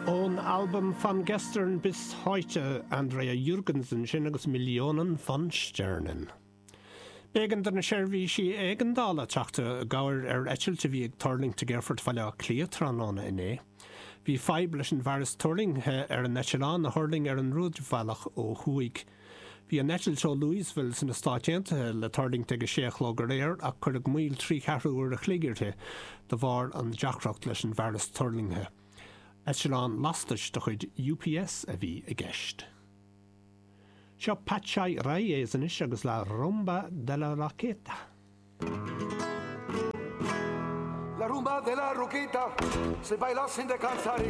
Ón albam Von Gestern bis Heute, Andrea Jürgens ansin agus Millionen von Sternen. B'éigean do na seirbhísí éigeandála teacht i gcabhair ar eitilt a bhí ag tuirlingt ag Aerfort Bhaile Átha Cliath tráthnóna inné. Bhí fadhb leis an bhfearas tuirlingthe ar an eitleán a thuirling ar an rúidbhealach ó thuaidh. Bhí an eitilt ó Louisville sna Stáit Aontaithe le tuirlingt ag a sé a chlog aréir ach cuireadh moill trí cheathrú uair a chloig uirthi de bharr an deacracht leis an bhfearas tuirlingthe. Eitleán lastais de chuid UPS a bhí i gceist. Seo Patxi Reyes anois agus La Rumba de la Roqueta. La rumba de la Roqueta se baila sin descansar.